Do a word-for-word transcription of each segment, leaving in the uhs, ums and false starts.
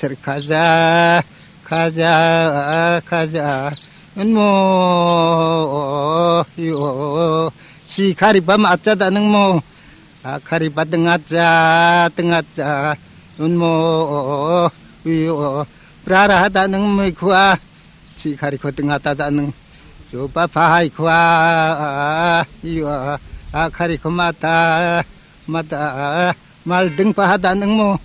Kaja, kaja, kaja, unmo, yo, si kariba macha da nangmo, a kariba dengaja, dengaja, unmo, yo, prara da nangmo kua, si kariko dengata da nang, joba pahai kua, yo, a kariko mata, mata, malding paha da nangmo,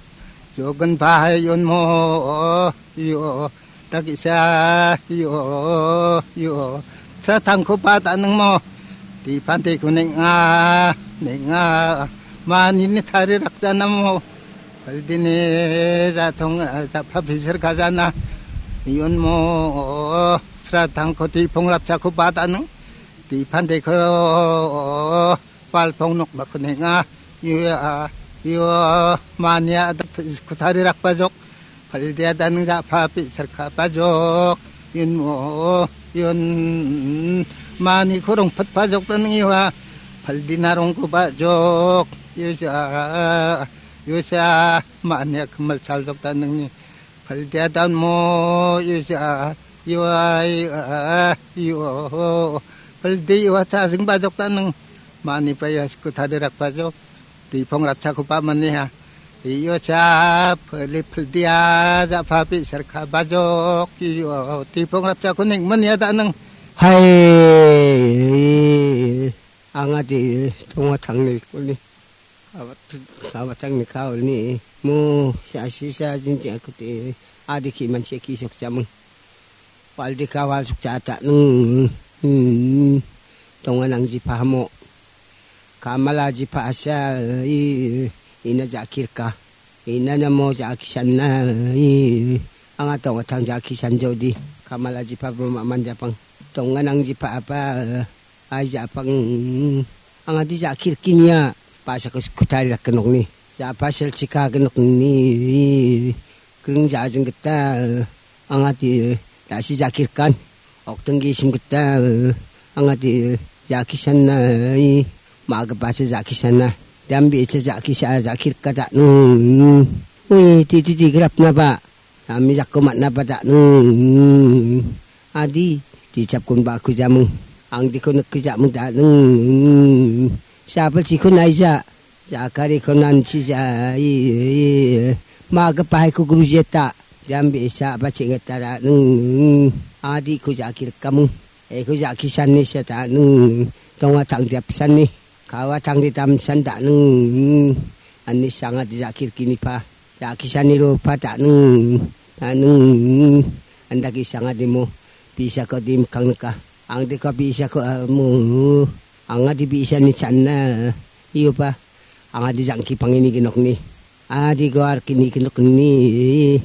jogan pahai unmo, yo, takisa, yo, yo, sa tangko pa da nangmo, di pante ko nenga, nenga, mani ni tari raksa namo, paldini jatong, japa bisir kajana, yunmo, sa tangko di pong raksa ko pa da nang, di pante ko, Palpong nok bakuninga, yo, yo, mania dak kutari rak pajok, paldia dan ja papi serka pajok, yun mo, yun, mani kurung pet pajok dan yo, paldina rong ku pajok, yo sa, yo sa, mania kemal sal jok dan ni, paldia dan mo, yo sa, yo, ai, ah, yo, paldi yo sa sing pajok dan Mani pa ia siku tadi rak pajok. Di pong ratsa ku pa mani ha. Iyo sa peli peldia ja papi serka pajok. Iyo di pong ratsa ku ning mani ada nang. Hai. Anga di tonga tangni kuni. Kawat, kawat tangni kau ni. Mu sa si sa jinti aku ti. Adi ki man si ki sok jamung. Paldi kawal sukcha ta nung, hmm, tonga nang jipa hamo. Kamala jipa asa, i, ina jakirka. Ina namo jakisan na, i, anga tonga tang jakisan jodi. Kamala jipa bama manjapang. Tonga nang jipa apa, Ai, japang. Anga di jakir kinia. Pasa kus kutari rak kenok ni. Japa sel chika kenok ni. Kring jajeng geta. Anga di dasi jakir kan. Ok tenggi sim geta. Anga di jakisan na. Maga pasa jakisan na. Dambi sa jakisa jakir kata. Hmm. Ui, ti, ti, ti, grap na ba. Kami jakko matna pada nung. Adi, dicap kun baku jamung. Ang diko nek jamung da nung. Siapa cikun aija. Jakari konan cija. Maga pahai ku guru jeta. Jambi sa apa cinget da nung. Adi ku jakir kamu. Eko jakisan ni seta nung. Tonga tang diap san ni. Kawa tang di tam san da nung. Ani sanga di jakir kini pa. Jakisani rupa tanung, tanung. Anda kisanga dimo, bisa ko dim kang neka. Ang deka bisa ko amu. Anga di bisa ni channa. Iyo pa. Anga di jangki pangini genok ni. Adi goar kini genok ni.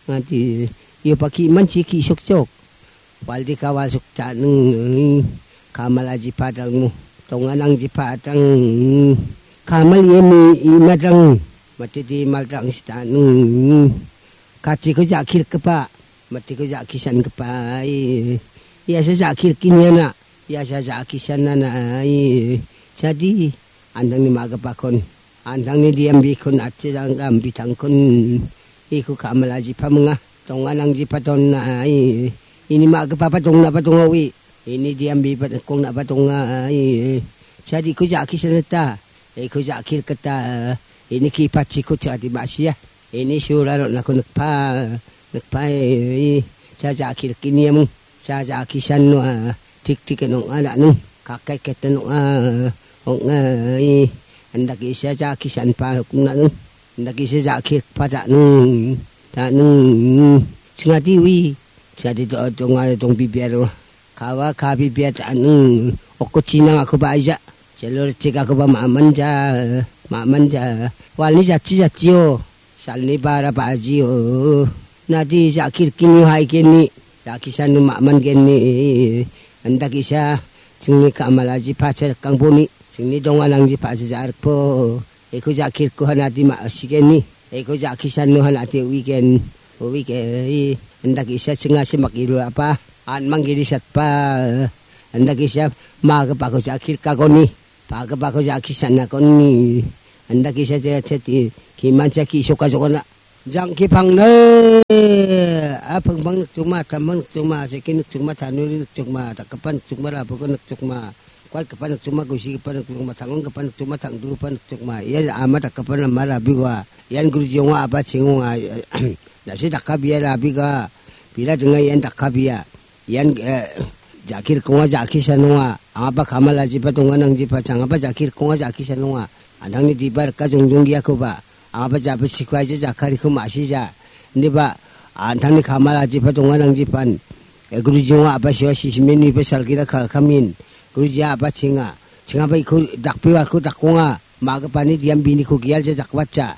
Anga di. Iyo pa ki man si ki sok sok. Waldi kawal suk tanung. Kamal aji padang mu. Tonganang ji padang. Kamal yemi imadang. Mati di maldang si tanung. Kati ko jakir kepa. Mati ko jakisan kepa. Iya sa jakir kini anak. Iya sa jakisan anak. Jadi andang ni maga pakon. Antangni diam bikun achi janggam bitangkun. Iku kamalaji pamunga. Tonganangji patonna ai. Ini ma ke papa tongna patongawi. Ini diam bipat kongna patonga ai. Jadi ku jaki seneta. Iku jakir keta. Ini kipat siku jadi masia. Ini suraro naku nekpa. Nekpa ai. Sa jakir kini amung. Sa jakisan no a. Tik tik no a danu. Kakai keten no a. Ong ai. Andak isa jakisan pa nanu. Andak isa jakir pa danu. Danu. Singati wi. Singati to tonga tong bibiaro. Kawa ka bibia danu. Oko chinang aku ba aja. Jalur cik aku ba maman ja. Maman ja. Wali jachi jachi o. Salni bara bajio. Nadi jakir kini hai kini. Jakisan nu maman kini. Andak isa. Singni kamalaji pacar kangponi. Singni donganangji pacar jarpo. Eko jakir ko hanati ma sikeni. Eko jakisan nu hanati weekend. Weekend. Andak isa singa simak ilu apa. An manggiri satpa. Andak isa ma ke pako jakir kagoni. Paka paka jaki sana koni. Anda kisa jaya teti. Kiman jaki soka soka na. Jangki pangnai, a pingpang nikchongma, tampang nikchongma, seki nikchongma, tanuri nikchongma, dakgipa nikchongma, rabuko nikchongma, kuatgipa nikchongma, gusigipa nikchongma, tangonggipa nikchongma, tangdugipa nikchongma. Ia ama dakgipa nama rabiwa. Ian guruji ong·a, a·ba ching ong·a. Nasi dakka bia rabiga. Bila dinga ian dakka bia. Ian, eh, jakir konga jakisa nonga. Angaba kamalajiba donga nangjiba changaba jakir konga jakisa nonga. Antangni diba rika jongjonggiakoba. Angaba jabisiko aja jakariko masija. Niba antangni kamalajiba donga nangjiban. Eh, guruji ong·a a·ba siwa sisimen niba salgira kalkamin. Guruji a·ba chinga. Chingaba iko dakbewa ko dakonga. Magipani diam biniko gialja jakbatja.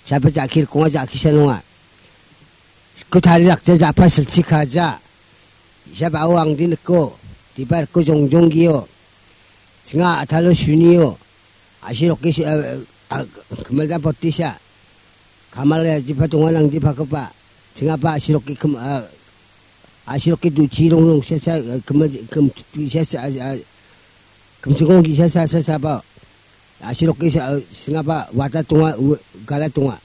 Saba jakir konga jakisa nonga. Kutari rakja japa silchi kaja. Isa bao angdi niko. Dibar ko jongjong gio. Chinga atalo sunio. Asi roke su-, eh, eh, ah, kemelda potisa. Kamal ya jipa tongan ang jipa kepa. Chinga pa asi roke kem-, ah, asi roke duchi rong rong sesa, eh, kemel, kem, sesa, ah, ah, kemchingong gisa sa, sa, sa ba. Asirok isa, eh, singapa wata tonga, u-, gala tonga.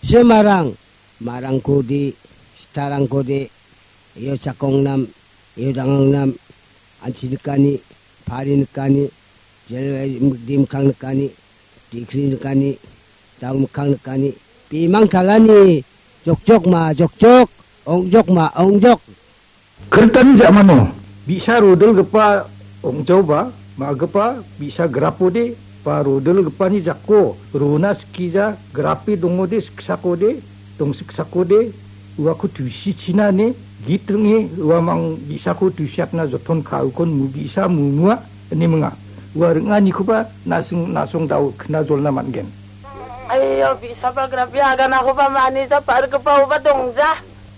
Semarang, marangko de, sitarangko de, iyo chakong nam, iyo dangang nam, anchi nikani, pari nikani, jel-, eh, di mikkang nikani, dikri nikani, dang mikkang nikani, pimang talani, jokjok ma, jokjok, ongjok ma, ongjok. Kirtani ja·mano bi·sa rodilgipa ong·jaoba ma·gipa bi·sa grapode ba rodilgipani jako rona skija grape dongode siksakode dongsiksakode uako tusichina ine git ring·e uamang bi·sako tusiatna joton ka·ukon mu bi·sa mumua ine minga. Ua ring·anikoba na·sing na·song dao knajolna man·gen. Aiyo, bi·saba grape aganakoba manija pa·rgipa uba dongja.